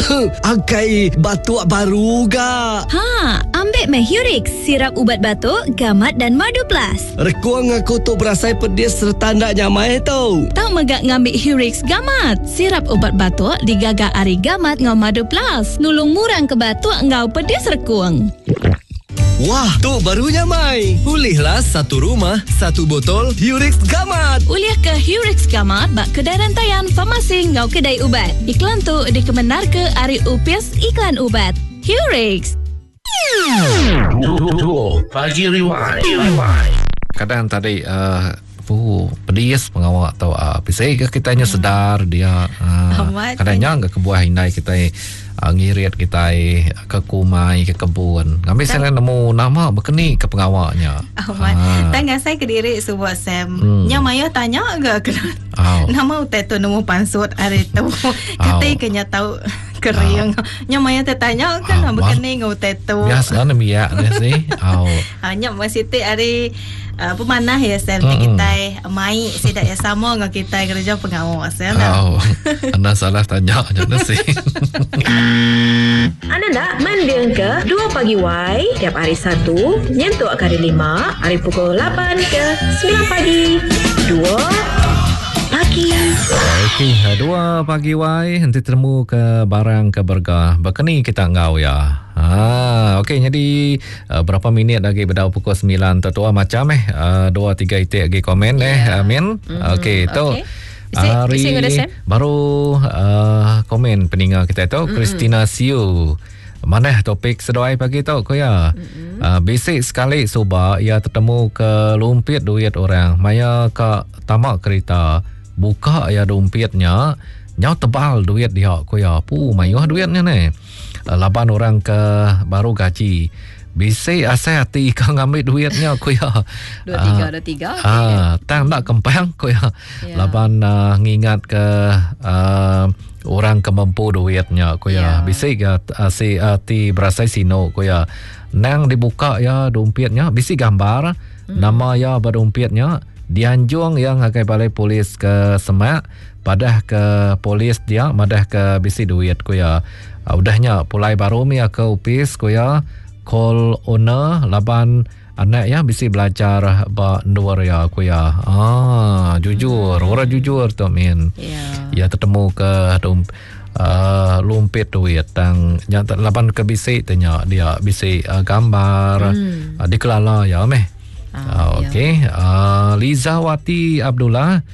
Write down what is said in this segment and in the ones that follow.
Akai batuk baru ga. Ha, ambik meh Hurix, sirap ubat batuk, gamat dan madu plus. Rekung aku tu berasai pedis sereta enda nyamai tu. Tau mega ngambi Hurix Gamat, sirap ubat batuk digaga ari gamat enggau madu plus, nulung murang ke batuk enggau pedis rekung. Wah, tu baru nyamai. Ulihlah satu rumah, satu botol Hurix Gamat. Ulih ke Hurix Gamat ba kedai rantaian farmasi enggau kedai ubat. Iklan tu dikemendarka ari Opis Iklan Ubat. Hurix. Dua Pagi Rewind. Kadang tadi uh, pu pedis pengawa tu uh, bisi ke kita nya sedar dia uh, kadang nya ke kebuah indai kita ngirit kitai ke kumai ke kebun ngambi sida nemu nama bekeni ke pengawa nya. Amat. Ha. Tang ngasai kediri suba Sam. Hmm. Nya mayuh tanya ga kena. Oh. Nama utai tu nemu pansut ari tu. Kati ke nya tau kering. Nya mayuh tertanya kan oh. bekeni ngau utai tu. Biasa nembiak ni sih. Oh. Ha, nya masih ti ari uh, pemanah ya Sam mm. kitai mai sida ya sama dengan kitai kerja pengawa Sam. Oh. Anda salah tanya nya sih. Anda nak mending ke 2 pagi Y tiap hari Satu nyentuk ke hari Lima hari pukul 8 ke 9 pagi. 2 pagi. Okey, 2 pagi Y enti temu ke barang ke berga. Bekeni kita enggau ya. Ha, okey jadi uh, berapa minit lagi bedau pukul 9 tu tua macam eh uh, dua tiga itik lagi komen eh yeah. Amin. Mm-hmm. Okey tu okay. Hari baru uh, komen peninga kita tu mm-hmm. Christina Siu. Manah topik seduai pagi tu ko ya. Mm-hmm. Uh, bisi sekali suba ia tetemu ke lumpit duit orang maya ka tama kereta buka ya dompetnya nyau tebal duit dia ko ya. Pu mayuh duitnya ne. Laban orang ke baru gaji bisi asai ati ka ngambi duit nya ku iya. Dua tiga dua tiga. Ah, tang enda kempang ku iya. Yeah. Laban uh, ngingat ke uh, orang ke mempu duit nya ku iya. Yeah. Bisi ga uh, si ati uh, berasai sinu ku iya. Nang dibuka iya dompet nya bisi gambar mm. nama iya ba dompet nya dianjung iya ngagai balai polis ke semak Padah ke polis dia madah ke bisi duit ku iya. Udah nya pulai baru mih iya ke opis ku iya call owner laban anak iya bisi belajar ba endur iya ku iya. Ah jujur orang jujur tu min. Iya tetemu ke uh, lumpit duit tang nya laban ke bisi te nya dia bisi uh, gambar hmm. uh, dikelala iya meh. Ah, okey. Uh, Lizawati Abdullah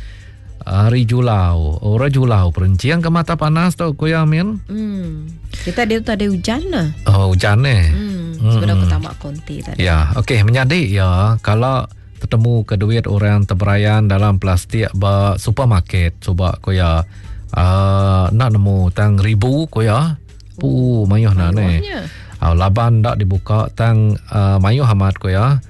Hari Julau. Orang Julau perencing ke mata panas tu ku ya min. Hmm. Kita dia tu ada hujan lah. Oh hujan eh. Hmm. Sebelum aku tamak konti tadi. Ya, okey menyadi ya kalau tetemu ke duit orang terberayan dalam plastik ba supermarket cuba ku ya. Uh, nak nemu tang ribu ku ya. Pu mayuh na ne. Uh, laban ndak dibuka tang uh, mayuh amat ku ya.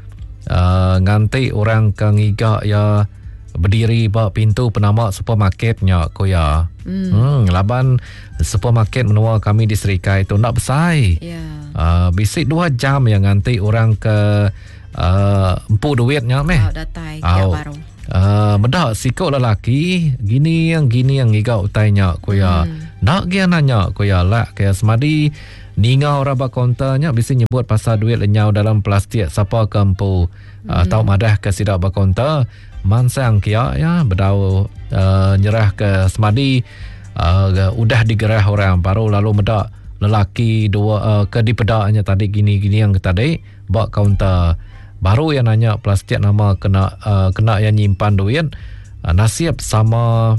Uh, nganti orang ke ngiga ya berdiri ba pintu penama supermarket nya ku ya. Hmm. hmm laban supermarket menua kami di Serikai tu ndak besai. Yeah. Uh, bisi 2 jam yang nganti orang ke uh, empu duit nya meh. Oh, datai oh. baru. Uh, meda siku lelaki gini yang gini yang ngiga utai nya ku iya. Hmm. Nak gia nanya ku iya lak ke semadi ninga orang ba kaunter nya bisi nyebut pasal duit lenyau dalam plastik sapa ke empu. Hmm. Uh, tau madah ke sida ba kaunter mansang kia ya bedau uh, nyerah ke semadi uh, udah digerah orang baru lalu meda lelaki dua uh, ke dipeda nya tadi gini-gini yang tadi Ba kaunter baru iya nanya plastik nama kena uh, kena iya nyimpan duit uh, nasib sama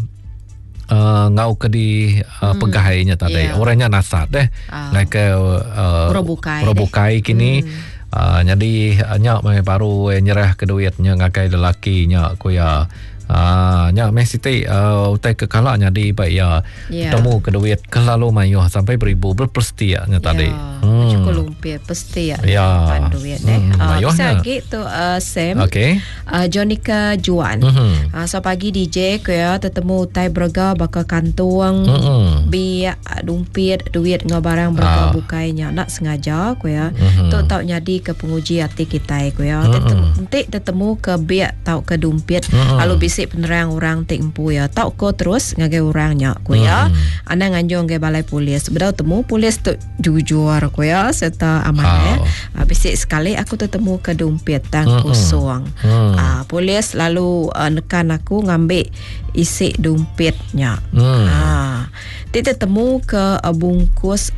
uh, ngau ke di uh, hmm. pegai nya tadi. Yeah. Orang nya nasat deh. Uh. Ngai ke uh, orang bukai kini. Hmm. Uh, jadi nya mai baru nyerah ke duit nya ngagai lelaki nya ku iya. Ah, nya meh siti uh, utai ke kala nyadi ba iya. Yeah. Temu ke duit kelalu mayuh sampai beribu berpestia nya tadi. Yeah. Hmm. Cukup lumpir pestia yeah. duit eh. Hmm. Uh, bisa lagi tu uh, Sam. Okay. Uh, Jonica Juan. Mm-hmm. Uh, so pagi DJ ku ya tetemu utai berega baka kantung, mm-hmm. biak, dumpit, duit ngau barang berega uh. bukai nya nak sengaja ku ya. Mm-hmm. Tu tau nyadi ke penguji ati kitai ku ya. Mm-hmm. Enti tetemu ke biak tau ke dumpit mm-hmm. lalu bisi. bisi penerang orang ti empu iya tauka terus ngagai orang nya ku iya. Mm. Anang nganjung ngagai balai polis. Bedau temu polis tu jujur ku iya serta amat eh. Uh, bisi sekali aku tetemu ke dumpit tang mm kosong. Mm. Uh, polis lalu uh, nekan aku ngambi isi dumpit nya. Mm. Uh, ti tetemu ke uh, bungkus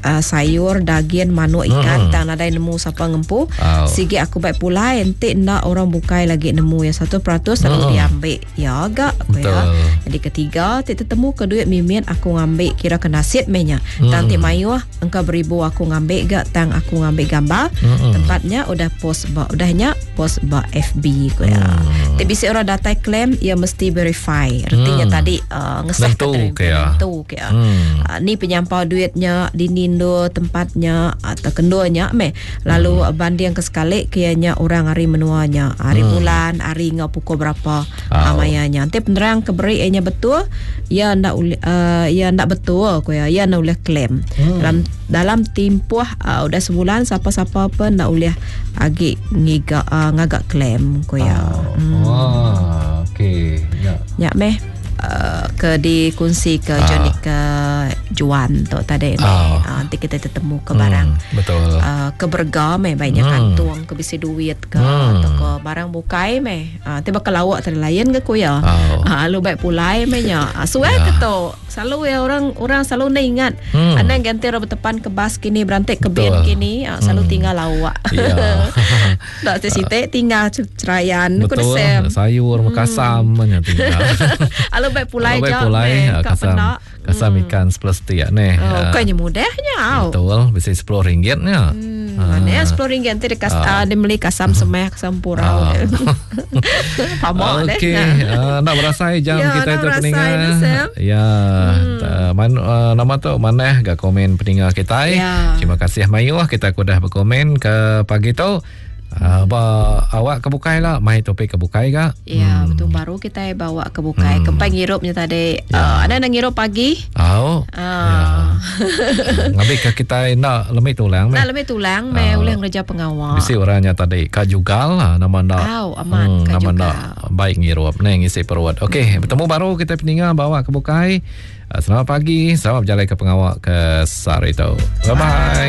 uh, sayur, dagin, manuk, ikan hmm. tang nadai nemu sapa ngempu. Oh. Sigi aku baik pulai enti enda orang bukai lagi nemu ya 1% lalu hmm. diambil. Ya ga aku ya. Jadi ketiga ti tetemu ke duit mimit aku ngambil kira ke nasit meh nya. Hmm. Tang ti mayuh engka beribu aku ngambil ga tang aku ngambil gambar hmm. tempatnya udah post ba udah nya post ba FB ku ya. Hmm. Ti bisi orang datai claim ia mesti verify. Retinya hmm. tadi uh, ngesah ke ke ya. Nentu ke ya. Hmm. Uh, ni penyampau duitnya dini endur tempatnya atau kendurnya meh. Lalu hmm. banding ke sekali ke nya orang hari menuanya, hari hmm. bulan, hari ngau pukul berapa oh. maya nya. Enti penerang ke beri nya betul, ia ndak uh, ia ndak betul ku ya. Ia ndak ulih claim. Hmm. Dalam dalam timpuh uh, udah sebulan sapa-sapa pun ndak ulih agi ngiga uh, ngaga claim ku ya. Oh. Hmm. Wah, okey. Ya. Ya meh uh, ke dikunsi ke ah. Johnny ke Juan tu tadi ni. Ah. Uh, nanti kita tetemu ke barang. Betul. Uh, ke berga meh baiknya hmm. kantung ke bisi duit ke hmm. atau ke barang bukai meh. Ah, ti baka lawak tadi lain ke ku ya. Oh. Ah, lu baik pulai meh nya. Ah, suai yeah. ke tu. Selalu ya orang orang selalu nda ingat. Hmm. Anang ganti orang bertepan ke bas kini berantik ke bin kini, ah, selalu hmm. tinggal lawak. Yeah. Tak ti site tinggal cerayan. Betul. Sayur hmm. kasam nya tinggal. Alu baik pulai je. Baik pulai kasam. Kasam hmm. ikan 10 setia ni. Oh, bukannya mudahnya. Betul, bisa 10 ringgit nya. Hmm. Mana ya 10 ringgit nanti dia, kas, uh. dia beli kasam semeh kasam purau. Faham deh. Okey, uh, nak berasai jam ya, kita itu peninga. Ya, hmm. man, uh, nama tu manah ga komen peninga kita. Ya. Terima kasih mayuh kita kudah berkomen ke pagi tu. Uh, ba awak ke bukai lah mai topik ke bukai ga. Ya, hmm. betul baru kita bawa ke bukai. Hmm. Kempai ngirupnya tadi. Ya. Uh, ada nak ngirup pagi? Oh. Uh. Ya. Ngambil ke kita nak lemih tulang meh. Nak lemih tulang meh uh, ulih ngereja pengawal. Bisi orangnya tadi ka jugal lah nama nak. Oh, amat hmm, nama nak baik ngirup ne ngisi perut. Okey, hmm. bertemu baru kita peninga bawa ke bukai. Selamat pagi, selamat berjalan ke pengawak ke sehari tu. Bye bye.